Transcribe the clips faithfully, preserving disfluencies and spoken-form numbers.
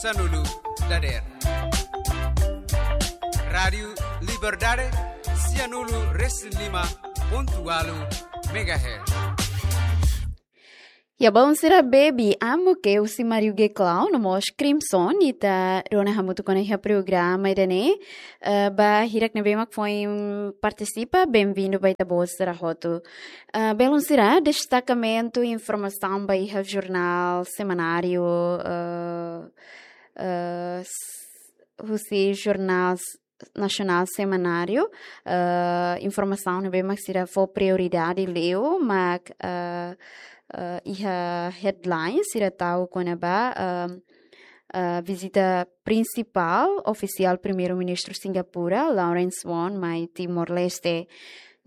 sanulu dadeer. Rádiu Liberdade, sianulu resin lima pontu ualu megahertz. Ya, balu sira, Baby Amo Ke husi Mario G Clown no mós Crimson, ita rona hamutuk ona iha programa ida-ne'e. Eh, ba hirak ne'ebé mak foin partisipa, benvindu ba ita-boot sira hotu. Eh, balu sira, destakamentu informasaun ba iha jornál semanáriu, eh, eh, s-, husi jornál s-, nasionál semanáriu, eh, informasaun ne'ebé mak sira fó prioridade liu, mak, eh, eh, iha headline sira tau kona-ba, eh, eh, vizita prinsipál ofisiál Primeiru-Ministru Singapura, Lawrence Wong, mai Timor-Leste.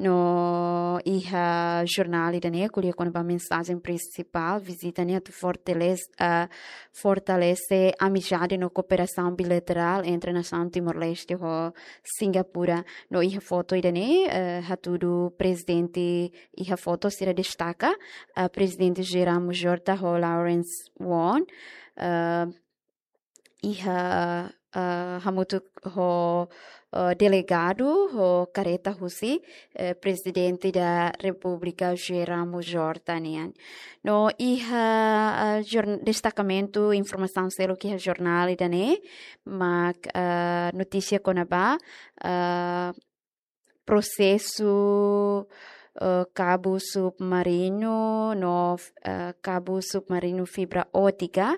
No iha jornál ida-ne'e ko'alia kona-ba mensajen prinsipál vizita ne'e atu fortalese, eh, fortalese amizade no kooperasaun bilaterál entre nasaun Timor-Leste ho Singapura. No iha foto ida-ne'e, eh, hatudu prezidente, iha foto sira destaka, eh, Prezidente José Ramos Horta ho Lawrence Wong, eh, iha, eh, hamutuk ho, eh, delegadu ho kareta husi, eh, Prezidente da Repúblika José Ramos Horta nian. No iha, eh, jorn-, destakamentu informasaun seluk iha jornál ida-ne'e, mak, eh, notísia kona-ba, eh, prosesu, eh, kabu submarinu no, eh, kabu submarinu fibra ótika,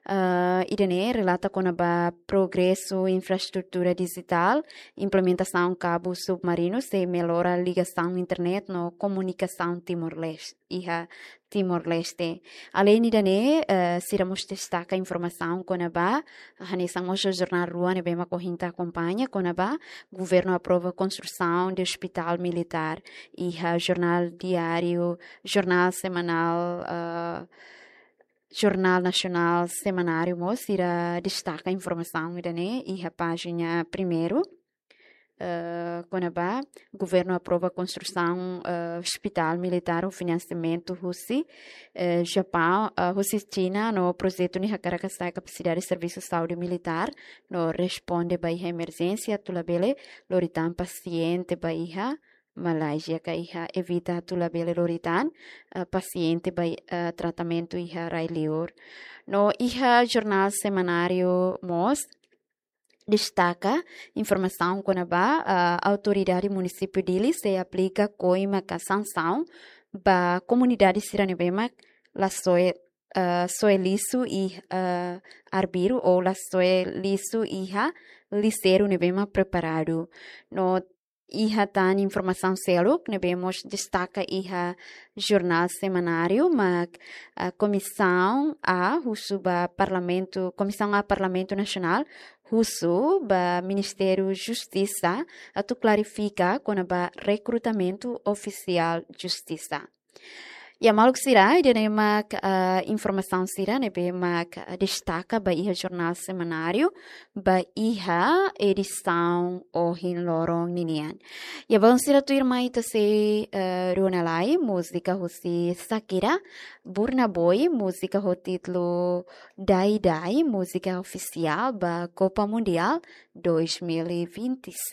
eh, ida-ne'e relata kona-ba progresu infraestrutura dijitál, implementasaun kabu submarinu sei mellora ligasaun internet no komunikasaun Timor-Leste, iha Timor-Leste. Aleinde ida-ne'e, eh, sira mós destaka informasaun kona-ba, hanesan mós jornál rua ne'ebé mak ohin ita akompaña kona-ba, governu aprova konstrusaun de hospitál militár. Iha jornál diáriu, jornál semanál, eh, jornál nasionál semanáriu mós sira destaka informasaun ida-ne'e iha pájina primeiru. Eh, kona-ba, governu aprova konstrusaun, eh, hospitál militár ho finansiamentu husi, eh, Japaun, eh, husi Xina no projetu ne'e hakarak hasa'e kapasidade servisu saúde militár no responde ba iha emerjénsia atu labele lori tan pasiente ba iha Malázia ka iha evita atu labele lori tan, eh, pasiente ba, eh, tratamentu iha rai-liur. No iha jornál semanáriu mós destaka informasaun kona-ba, ah, autoridade munisípiu Dili sei aplika koima ka sansaun ba komunidade sira ne'ebé mak la soe, ah, soe lixu iha, ah, arbiru ou la soe lixu iha lixeiru ne'ebé mak preparadu. No iha tan informasaun seluk ne'ebé mós destaka iha jornál semanáriu mak, ah, Komisaun A husu ba Parlamentu, Komisaun A Parlamentu Nasionál husu ba Ministériu Justisa atu klarifika kona-ba rekrutamentu ofisiál justisa. Ya, maluk sira, ida-ne'e mak, ah, informasaun sira ne'ebé mak, ah, destaka ba iha jornál semanáriu ba iha edisaun ohin loron ninian. Ya, balu sira, tuirmai ita sei, eh, rona lai múzika husi Shakira, Burna Boy, múzika ho títulu Dai Dai, múzika ofisiál ba Copa Mundial dois mil e vinte e seis.